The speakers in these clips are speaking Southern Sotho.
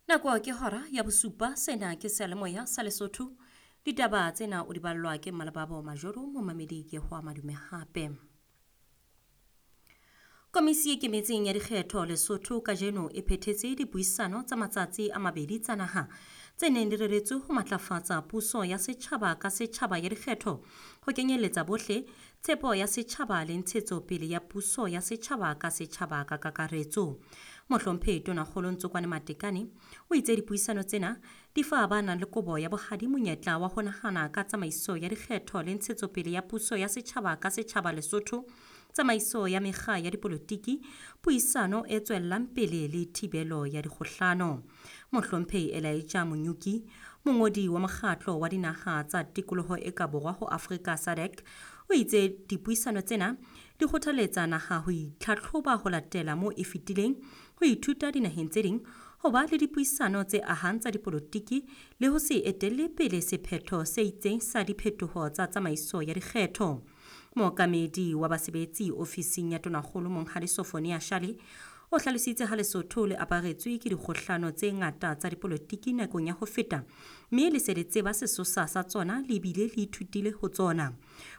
Nako ke hora ya bosupa, sena ke seyalemoya sa Lesotho. Ditaba tsena o di ballwa ke Mmalebabo Majoro, momamedi ke ho madume hape. Komisi e Ikemetseng ya Dikgetho Lesotho kajeno e phethetse dipuisano tsa matsatsi a mabedi tsa naha tse neng di reretswe ho matlafatsa puso ya setjhaba ka setjhaba ya dikgetho, ho kenyelletsa bohle, tshepo ya setjhaba le ntshetsopele ya puso ya setjhaba ka setjhaba ka kakaretso. Mohlomphehi Tonakgolo Ntsokwane Matekane o itse dipuisano tsena di fa ba nang le kobo ya bohadi monyetla wa ho nahana ka tsamaiso ya dikgetho le ntshetsopele ya puso ya setjhaba ka setjhaba Lesotho, tsamaiso ya mekga ya dipolotiki, puisano e tswellang pele le thibelo ya dikgohlano. Mohlomphehi Elijah Monyuki, mongodi wa mokgatlo wa dinaha tsa tikoloho e ka borwa ho Afrika SADC, o itse dipuisano tsena di kgothaletsa naha ho itlhatlhoba ho latela moo e fetileng, ho ithuta dinaheng tse ding, ho ba le dipuisano tse ahang tsa dipolotiki le ho se etelle pele sephetho se itseng sa diphetoho tsa tsamaiso ya dikgetho. Mookamedi wa basebetsi ofising ya Tonakgolo Monghadi Sofonia Shale o hlalositse ha Lesotho le aparetswe ke dikgohlano tse ngata tsa dipolotiki nakong ya ho feta, mme le se le tseba sesosa sa tsona le bile le ithutile ho tsona.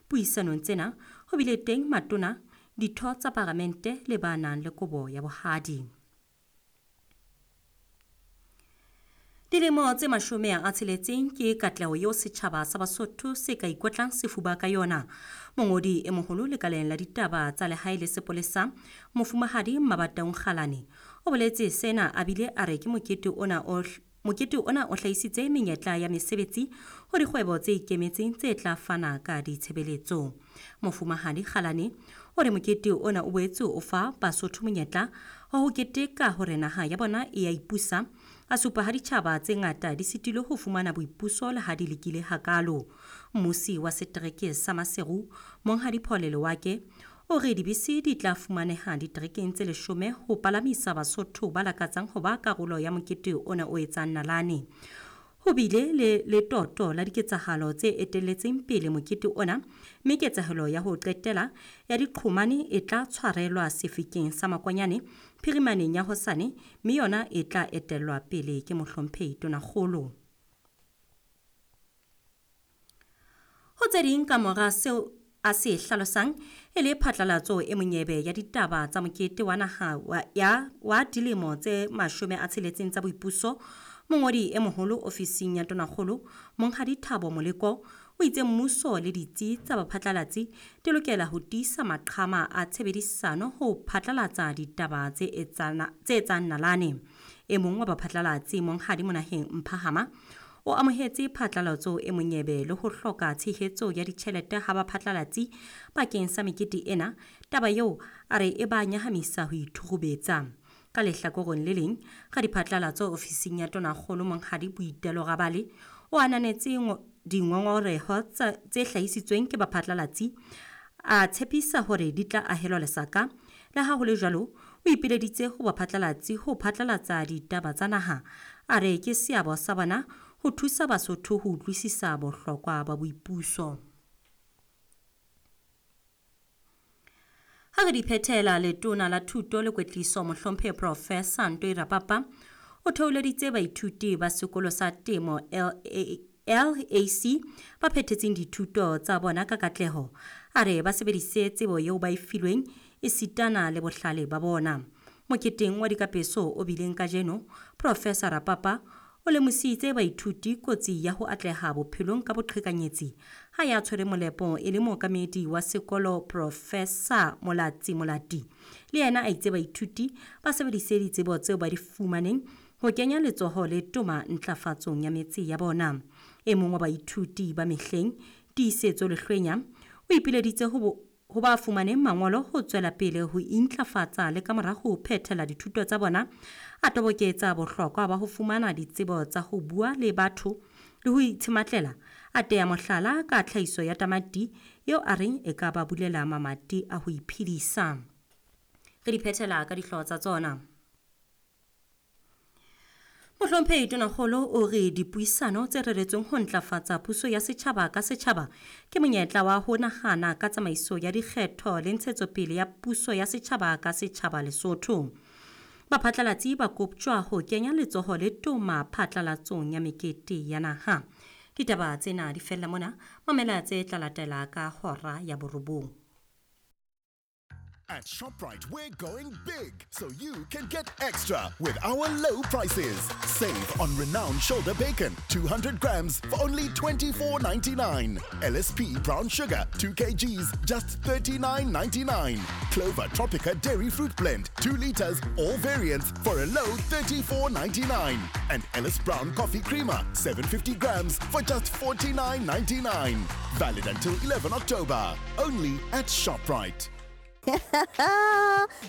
Puisanong tsena ho bile teng matona, ditho tsa paramente le ba nang le kobo ya bohadi. Dilemo tse 60 ke katleho eo setjhaba sa Basotho se ka ikotlang sefuba ka yona. Mongodi e moholo lekaleng la ditaba tsa lehae le sepolesa, Mofumahadi Mabataung Kgalane, o boletse sena a bile a re ke mokete ona o mokete ona o hlahisitse menyetla ya mesebetsi ho dikgwebo tse ikemetseng tse tla fana ka ditshebeletso. Mofumahadi Kgalane o re mokete ona o boetse o fa Basotho monyetla wa ho keteka hore naha ya bona e ya ipusa, a supa ha ditjhaba tse ngata di sitilwe ho fumana boipuso le ha di lekile hakalo. Mmusi wa setereke sa Maseru, Monghadi Paul Lewake, o re dibese di tla fumaneha diterekeng tse 10 ho palamisa Basotho ba lakatsang ho ba karolo ya mokete ona o etsang nalane. Ho bile le letoto la diketsahalo tse etelletseng pele mokete ona, mme ketsahalo ya ho qetela ya diqhomane e tla tshwarelwa sefikeng sa Makwanyane phirimaneng ya hosane, mme yona e tla etellwa pele ke Mohlomphehi Tonakgolo. Ho tse ding ka mora seo a se hlalosang e le phatlalatso e monyebe ya ditaba tsa mokete wa naha wa dilemo tse 60 tsa boipuso, mongodi e moholo ofising ya Tonakgolo, Monghadi Thabo Moleko, o itse mmuso le ditsi tsa baphatlalatsi di lokela ho tiisa maqhama a tshebedisano ho phatlalatsa ditaba tse etsang nalane. E mong wa baphatlalatsi, Monghadi Monaheng Mphahama, o amohetse phatlalatso e monyebe le ho hloka tshehetso ya ditjhelete ha baphatlalatsi bakeng sa mekete ena, taba eo a re e ba nyahamisa ho ithurubetsa. Ka lehlakoreng le leng, radiphatlalatso ofising ya Tonakgolo Monghadi Boitelo Rabale o ananetse dingongoreho tse hlahisitsweng ke baphatlalatsi, a tshepisa hore di tla ahelwa lesaka. Le ha ho le jwalo, o ipileditse ho baphatlalatsi ho phatlalatsa ditaba tsa naha, a re ke seabo sa bona ho thusa Basotho ho utlwisisa bohlokwa ba boipuso. Ha re di phethela, letona la thuto le kwetliso Mohlomphehi Professor Ntoi Rapapa o theoleditse baithuti ba sekolo sa temo LAC ba phethetseng dithuto tsa bona ka katleho. A re ba sebedise tsebo eo ba e filweng esitana le bohlale ba bona. Moketeng wa dikapeso o bileng kajeno, Professor Rapapa o lemositse baithuti kotsi ya ho atleha bophelong ka boqhekanyetsi ha ya tshwere molepo e le mookamedi wa sekolo Professor Molatsi Molati. Le yena a itse baithuti ba sebedise ditsebo tseo ba di fumaneng ho kenya letsoho le toma ntlafatsong ya metse ya bona. E mong wa baithuti ba mehleng, Tiisetso Lehlwenya, o ipileditse ho ba fumaneng mangolo ho tswela pele ho intlafatsa le ka mora ho phethela dithuto tsa bona, a toboketsa bohlokwa ba ho fumana ditsebo tsa ho bua le batho le ho itshematlela, a teya mohlala ka tlhahiso ya tamati eo a reng e ka ba bulela mamati a ho iphedisa. Re di phethela ka dihlooho tsa tsona. Mohlomphehi Tonakgolo o re dipuisano tse reretsweng ho ntlafatsa puso ya setjhaba ka setjhaba ke monyetla wa ho nahana ka tsamaiso ya dikgetho le ntshetsopele ya puso ya setjhaba ka setjhaba Lesotho. Baphatlalatsi ba koptjwa ho kenya letsoho le toma phatlalatsong ya mekete ya naha. Ditaba tsena di fella mona, mamela tse tla latela ka hora ya borobong. At ShopRite, we're going big so you can get extra with our low prices. Save on renowned shoulder bacon, 200 grams for only $24.99. LSP brown sugar, 2 kgs, just $39.99. Clover Tropica dairy fruit blend, 2 liters, all variants for a low $34.99. And Ellis Brown coffee creamer, 750 grams for just $49.99. Valid until 11 October. Only at ShopRite.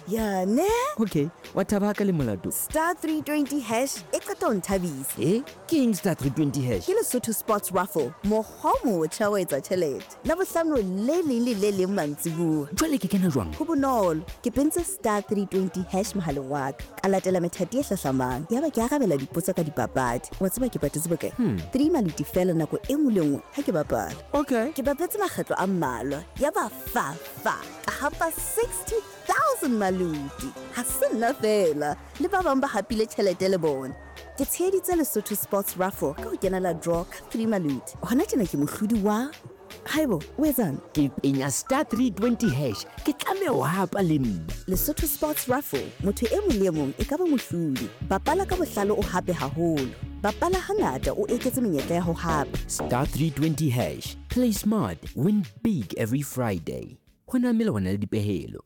Ya ne? Okay, wa thaba ka le molato. Star 320 hash e qeta ho nthabisa. E ke eng star 320 hash? Ke Lesotho Sports Raffle, mokgwa o motjha wa etsa tjhelete. Labohlano le leng le le leng mantsibuya. Jwale ke kena jwang? Ho bonolo, ke pentse star 320 hash mohaleng wa ka. Ka latela methati e hlahlamang. Yaba ke arabela dipotso ka dipapadi. Wa tseba ke patetse bokae? 3 maluti fela nako e nngwe le nngwe ha ke bapala. Okay. Ke bapetse makgetlo a mmalwa. Yaba fa fa ka hapa 60,000 maluti. Ha se nna fela, le ba bang ba hapile tjhelete le bona. Ke tsheheditse Lesotho Sports Raffle ka ho kenela draw ka 3 maluti. Hona tjena ke mohlodi wa. Haibo, o etsang? Ke penya star 320 hash, ke tlameha ho hapa le nna. Lesotho Sports Raffle, motho e mong le e mong e ka ba mohlodi. Bapala ka bohlale o hape haholo. Bapala hangata o eketse menyetla ya ho hapa. Star 320 hash, play smart, win big every Friday. Ho na melawana le dipehelo.